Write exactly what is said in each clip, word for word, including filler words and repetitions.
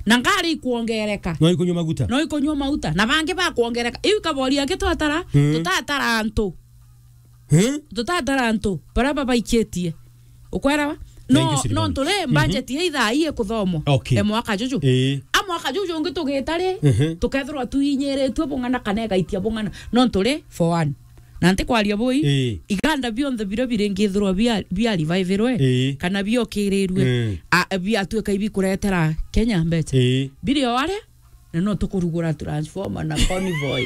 Na ngari ikuongereka. No ikunywa maguta. No ikunywa maguta. Na bangi bakuongereka. Iu kabori angi twatara, Mm. tutatara antu. Eh? Tutatara antu. Bara babaikitie. Ukwerawa? No, Thank you, Silvana. No nturi Mhm. budget ya ithaa ii ikuthomwa. Okay. E mwaka juju. Ii. A mwaka juju ungi tugita ri, Mhm. tukethirwa tuinyiritue bung'ana kana igaitia bung'ana. No nturi for one. Na ntikwaria bui, Ii. iganda bionthe biria biringithirwa bia, bia revive-irwe, Ii. kana biokirirue, Mm. a, biatuika ibikuretera Kenya mbeca. Ii. Biri o aria, na no tukurugura transformer na convoy.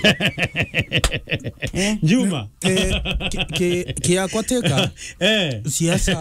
Eh? Juma. Ki-, ki-, ki-, kiakwa teka, Eh. siasa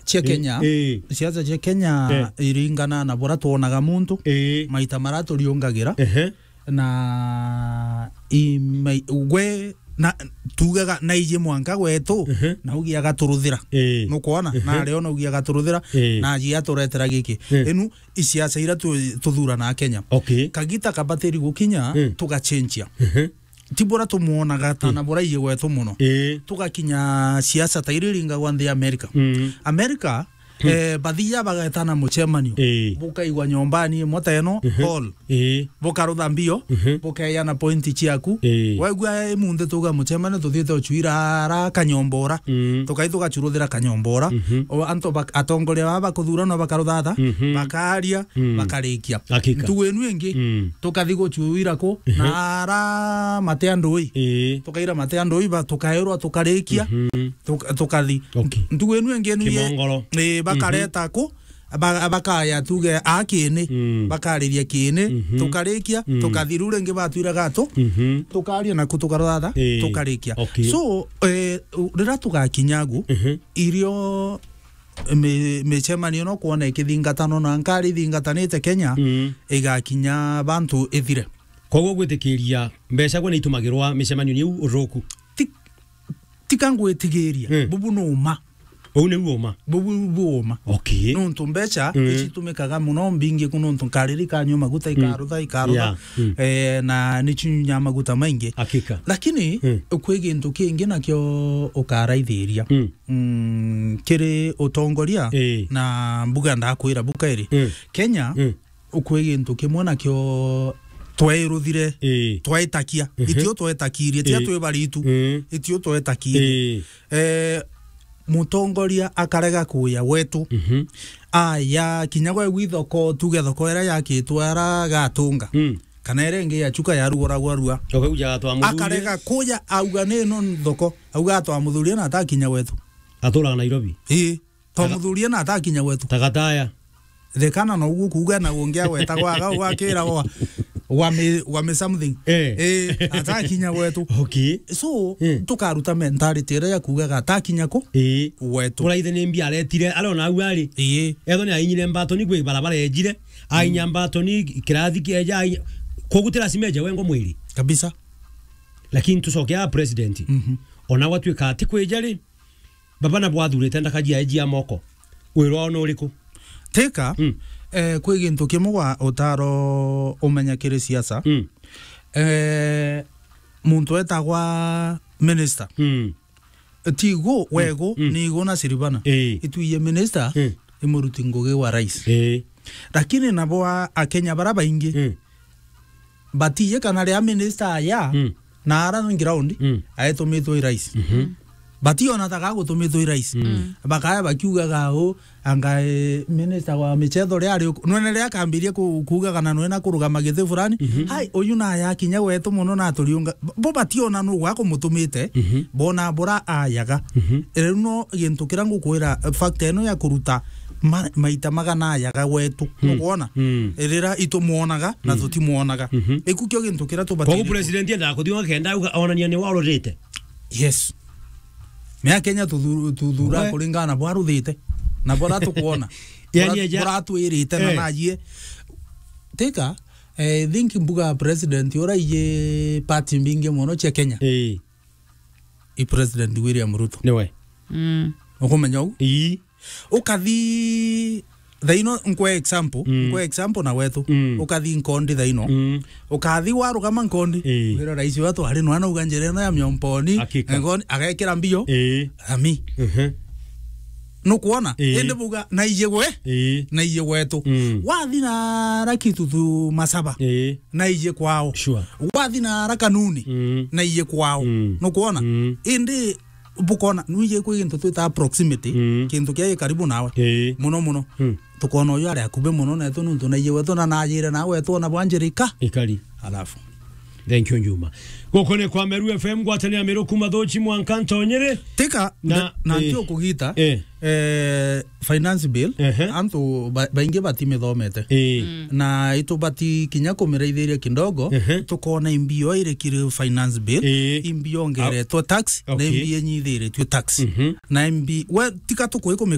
cia Eh, Kenya, eh. siasa cia Kenya Eh. iringana na bura twonaga muntu, Eh. maita mara turiungagira. Ehe. Na i-, mai-, gwe, na, tugaga, na iji mwanka gwetu, Mhm. na ugi agaturuthira. Ii. Nukwona? Mhm. Na ario na ugi agaturuthira, Ii. na aji aturetera giki. Ii. Inu, i siasa ira tu-, tuthurana Kenya. Okay. Kagita kabatiri gukinya, Mm. tugacenjia. Mhm. Ti bura tumwonaga ta Mm. na bura iji gwetu muno. Ii. Tugakinya siasa ta iri ringagwa nthi ya America. Mm. America, Hmm. Eh, bathia bagetana mucemanio. Ii. Bukaigwa nyombani imwe ta ino, Mhm. hall. Ii. Bukarutha mbio, Mhm. bukeana pointi ciaku. Ii. Waigua imunthi tuga mucemanio tuthiite ucuira ara kanyombora. Mm. Tukai tugacuruthira kanyombora. Mhm. O antu bak-, atongoria baba bakuthurana bakaruthatha, Mhm. bakaria, Mm. bakarikia. Hakika. Ntugu inu ingi, Mm. tukathi gucuira ku, Mhm. na ara mate andui. Ii. Tukaira mate andui ba, tukaerwa tukarikia. Mhm. Tuka-, tukathi. Okay. Ntugu inu ingi ni Kimongoro. Ii, bakareta Mhm. ku, ba-, bakaya tuge a kini, Mm. bakariria kini, Mhm. tukarikia, Mm. tukathi riu ringi batwiraga tu, Mhm. tukaria naku tukarothatha, Ii. tukarikia. Okay. So, eh, u-, riria tugakinya agu, Mhm. irio mi-, micemanio no kwona ikithingatanwa na nkari ithingatanite Kenya, Mm. igakinya bantu ithire. Koguo gwitikiria mbeca gwe niitumagirwa micemanio-ini iu uthuku? Ti-, tika ngwitigiria, Mm. bubu ni uma. Uu niu uma? Bubu bu uma. Okay. Nontu mbeca Mm. icitumikaga muno mbingi ku nontu nkariri ikanyua maguta, Mm. ikarutha, ikarutha. Yeah. Mm. Eh, na ni cinyunyaa maguta maingi. Hakika. Lakini Mm. kwi gintu kingi nakio ukaraithiria. Mm. Mm, kiri utongoria Eh. na mbuga ndakwira buka iri. Mm. Kenya Mm. ukwi gintu kimwe nakio twairuthire, Ii. twaitakia. Mhm. Itio twetakirie, tia Ii. twi baritu. Ii. Itio twetakirie. Ii. Eh, mutongoria akarega kuya gwetu. Mhm. Aya, kinya gwe gwi thoko, tuge thoko iria yakitwe ara gatunga. Mm. Kana iria ingi ya chuka ya ruguragwa rua. Ukauja gatwa muthuri. Akarega kuya auga ni ino thoko. Auga atwa muthuri na atakinya gwetu. Aturaga Nairobi. Ii. To Taga- muthurie na atakinya gwetu. Tagataya. Thekana no uguo kuuga na ungi agwetagwa aga ugakira wa, wa me, wa me something. Eh. Eh, atakinya gwetu. Okay. So, Eh. tukaruta mentality iria ya kuugaga atakinya ku Eh. gwetu. Muraithe ni mbi aretire, arona au ari. Eh. Etho ni ainyire mbatoni kwi barabara ejire, ainya Mm. mbatoni kirathi kieja, ainya-, koguo ti lazima eje wengo mwiri. Kabisa. Lakini tucoke a president. Mhm. Ona gwatuika ati kwija ri, baba na bwathurite ndakaji aeji ya moko. Wira wao ni uriku? Teka, Mm. eh, kwi gintu kimwe gwa utaro umenya kiri siasa. Mm. Eh, muntu etagwa minister. Mm. Tigu, Mm. wegu, Mm. nigu na Siribana. Eh. Itwiye minister, Mm. imuruti ngugi wa rais. Eh. Lakini nabo a, Akenya bara baingi, Mm. batiye kana ria minister aya, Mm. na ara ground, Mm. aetumitwe i rais. Mhm. Bationa ta gagutumitwe i rais. Mm. Bakaya bakiugaga u, anga, eh, minister wa michetho ria ari uku. Nwene ria akambirie ku, kuugaga na nwena kurugama giti fulani. Mhm. Hai, uyu na ayakinya gwetu muno na aturiunga. Bo bationa nu gwa kumutumite, Mhm. bona bura ayaga. Mhm. Riu no gintu kiria ngukwira, fact ino ya kuruta ma, maita magana ayaga gwetu. Mm. Nukwona? Mm. Rira itumwonaga na Mm. tutimwonaga. Mhm. Iku kio gintu kiria tubatiire. Koguo president endaga kuthiunga kenda auga onania ni warurite. Yes. Mea Kenya tuthu-, tuthura We. kuringana na bwaruthite. Na bora tukwona. Yani Bora, eja- bora twirite na Eh. najie. Teka, eh, I think mbuga president ura iye party mbingi muno cia Kenya. Eh. I President William Ruto. Niwe. Mm. Ukumenya u? Ii. Ukathi thaino, nkwe example, Mm. nkwe example na wetu. Mm. Ukathi Nkondi thaino. Mm. Ukathi warugama Nkondi. Ii. Wira rais wetu ari nwana uga njira ino ya Miomponi. Hakika. Nkondi agekira mbio. Ii. Ami. Mhm. Nukwona? Ii. Indi buga, na ije gwe, Ii. na ije gwetu. Mm. Wathi na ara Kitutu Masaba, Ii. na ije kwao. Sure. Wathi na ara Kanuni, Mm. na ije kwao. Mm. Nukwona? Mm. Indi bukona, nwije kwi gintu twita proximity, Mm. kintu kia karibu nawe. Ii. Muno muno. Mm. Tukona uyu ari akubi muno netu nuntu na ije wetu na najire nawe twona bwa njira ika. Ikari. Alafu. Thank you, Njuma. Guku ni kwa Meru F M, ngwataniro ya Meru kuma Thuchi mwanka Ntonyere. Tika, Na, na, na eh, ti ukugita, eh. eh, finance bill, Ehe. antu ba-, baingi batimithomete. Eh. Mm. Na itubati kinya kumiraithiria kidogo, Ehe. tukona imbi yo iri kiri finance bill, Eh. imbi yongeretwe tax, na Okay. imbi inyithiritue tax. Mhm. Na imbi, we, tika tukwikumi